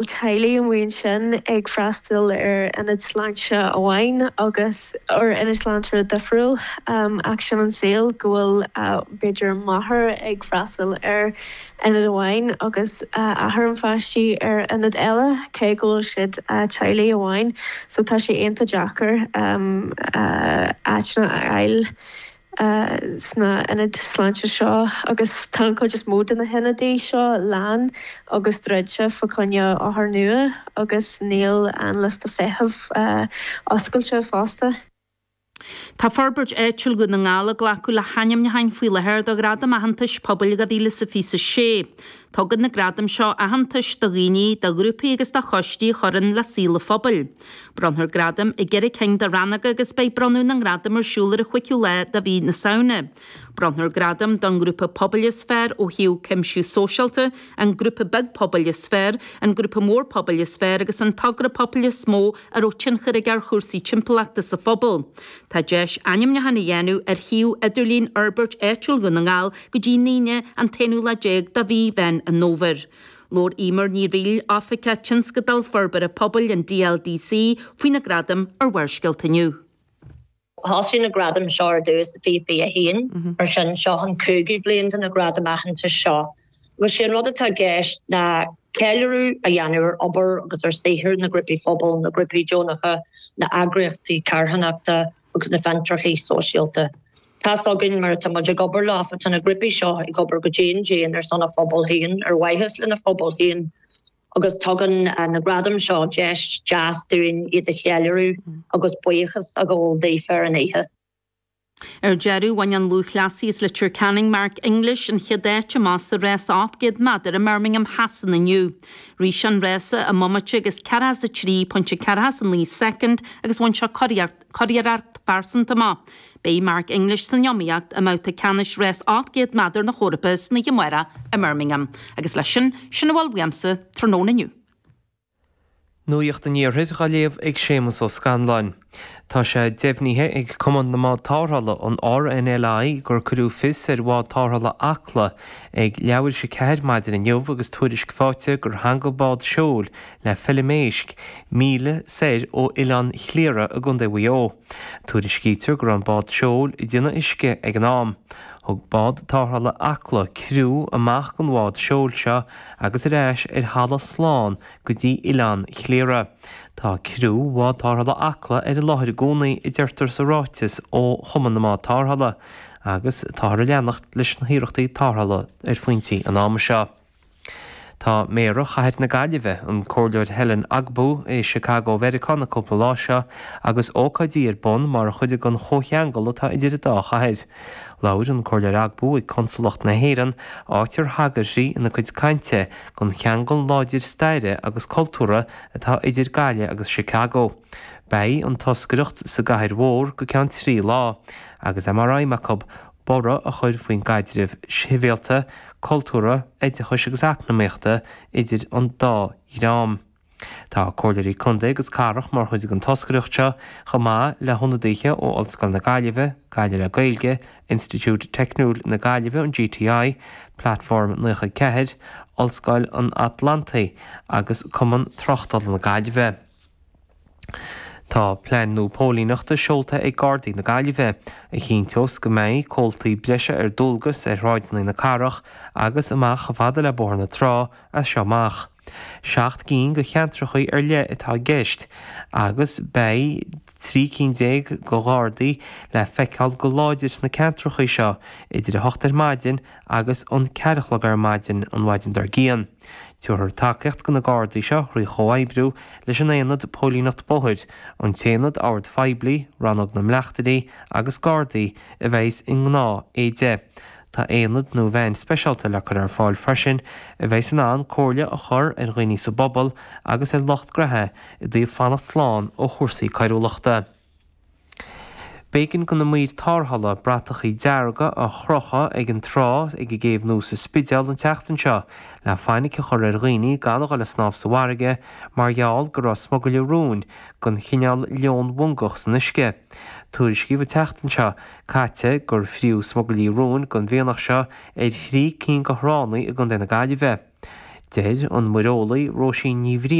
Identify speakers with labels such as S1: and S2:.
S1: Teaghlaigh amuigh ansin ag freastal ar ionad sláinte amháin agus ar ionad sláinte difriúil ach sin an saol go bhfuil b'fhéidir máthair ag freastal ar ionad amháin agus athair an pháistí ar ionad eile cé go bhfuil siad teaghlaigh amháin so tá sé iontach deacair áiteanna a fháil. sna hionaid sláinte seo agus tá an chuid is mó de na hionadaí seo lán agus druidte fá choinne othair nua agus níl an liosta feithimh oscailte fosta.
S2: Tá Forbairt Áitiúil Dhún na nGall ag glacadh le hainmniúcháin faoi láthair do Ghradaim Aitheantais Pobail 2026. Tugann na gradaim seo aitheantas do dhaoine, do ghrúpaí agus do choistí a chuireann le saol an phobail. Bronnfar gradaim i gceithre cinn de rannóga agus beidh bronnadh na ngradam ar siúl ar an chúigiú lá de mhí na Samhna. Bronnfar gradam don ngrúpa pobail is fearr ó thaobh cuimsiú sóisialta, an grúpa beag pobail is fearr, an grúpa mór pobail is fearr agus an togra pobail is mó a raibh tionchar aige ar chúrsaí timpeallachta sa phobal. Tá deis ainmniúchán a dhéanamh ar shuíomh idirlín Fhorbairt Áitiúil Dhún na nGall go dtí an Aoine an t-aonú lá déag de mhí Mheán an Fhómhair. Labhair Eimear Ní Fhrighil, Oifigeach Tionscadail Forbartha Pobail an DLDC, faoi na gradaim ar Bharrscéalta inniu.
S3: Thosaigh na gradaim seo ar dtús i 2021, mar sin seo an cúigiú bliain de na gradaim aitheantais seo. Agus sé an rud atá i gceist ná ceiliúradh a dhéanamh ar obair agus ar saothar na ngrúpaí phobail, na grúpaí deonacha, na eagraíochtaí carthanachta agus na fiontracha sóisialta. Tá's againn mar atá muid ag obair leofa, tá na grúpaí seo ag obair go dian dian ar son a phobal féin, ar mhaithe lena phobal féin agus tugann na gradaim seo deis deas dúinn iad a cheiliúradh agus buíochas a ghabháil daofa ar an oíche.
S2: Ar deireadh, bhain an lúthchleasaí as Leitir Ceanainn, Mark English, an chéad áit amach sa rás 800 méadar i mBirmingham Shasana inniu. Rith sé an rása i mbomaite agus 43.49 soicind agus bhain sé curiarracht phearsanta amach. Beidh Mark English san iomaíocht i mbabhta ceannais rás 800 méadar na hEorpa san oíche amárach i mBirmingham. Agus leis sin, sin a bhfuil uaimse tráthnóna inniu.
S4: Nuacht an Iarthair á léamh ag Séamus Ó Scanláin. Tá sé deimhnithe ag Cumann na mBád Tarrthála, an RNLI, gur cuireadh fios ar bhád tarrthála Acla ag leathuair théis a 4 maidin inniu agus tuairisc faighte gur theangaigh bád seoil le feilm éisc, míle soir ó Oileán Chliara i gContae Mhaigh Eo. Tuairiscítear go raibh an bád seoil ag déanamh uisce ag an am. Thug bád tarrthála Acla criú amach den bhád seoil seo agus ar ais ar thalamh slán go dtí Oileán Chliara. Tá criú bhád tarrthála Acla ar an láthair i gcónaí, a deirtear sa ráiteas ó Chumann na mBád Tarrthála, agus táthar ag leanacht leis na hiarrachtaí tarrthála ar phointí an ama seo. Tá Méara Chathair na Gaillimhe, an Comhairleoir Helen Ogbu, i Chicago Mheiriceá na cúpla lá seo agus ócáidí ar bun mar chuid den chomhcheangal atá idir an dá chathair. Labhair an Comhairleoir Ogbu ag Consalacht na hÉireann, áit ar thagair sí ina cuid cainte don cheangal láidir staire agus cultúrtha atá idir Gaillimh agus Chicago. Beidh an toscaireacht sa gcathair mhór go ceann 3 lá, agus é mar aidhm acu borradh a chur faoin gcaidreamh sibhialta, cultúrtha, oideachais agus eacnamaíochta idir an dá dhream. Tá Comhairleoirí Contae agus Cathrach mar chuid den toscaireacht seo, chomh maith le hionadaithe ó Ollscoil na Gaillimhe, Gaillimh le Gaeilge, Institiúid Teicniúil na Gaillimhe, an GTI, Platform 94, Ollscoil an Atlantaigh agus Cumann Tráchtála na Gaillimhe. Tá plean nua póilíneachta seolta ag Gardaí na Gaillimhe, a chinnteos go mbeidh comhaltaí breise ar dualgas ar shráideanna na cathrach agus amach chomh fada le Bóthar na Trá as seo amach. 7 gcinn de cheantracha ar leith atá i gceist agus beidh 13 cinn de Ghardaí le feiceáil go láidir sna ceantracha seo idir 8 ar maidin agus an 4 a chlog ar maidin an mhaidin dár gcionn. Tabharfar tacaíocht do na Gardaí seo thrí chomhoibriú leis an Aonad Póilíneacht Bóthair, an tAonad Oird Phoiblí, Rannóg na mBleachtairí agus Gardaí a bheas i ngnáth éide. Tá aonad nó veain speisialta le cur ar fáil freisin a bheas in ann comhairle a chur ar dhaoine sa bpobal agus ar lucht graithe i dtaobh fanacht slán ó chúrsaí coiriúlachta. B'éigean do na maoir tarrthála bratachaí dearga a chrochadh ag an trá ag an gCéibh Nua sa Spidéal an tseachtain seo le fainic a chur ar dhaoine gan a dhul ag snámh sa bhfarraige mar gheall go raibh smugairle róin den chineál leonmhongach san uisce. Tuairiscíodh an tseachtain seo caite gur fríodh smugairlí róin den mhianach seo ar thrí cinn de thránna i gContae na Gaillimhe. Deir an muireolaí Róisín Ní Bhriain.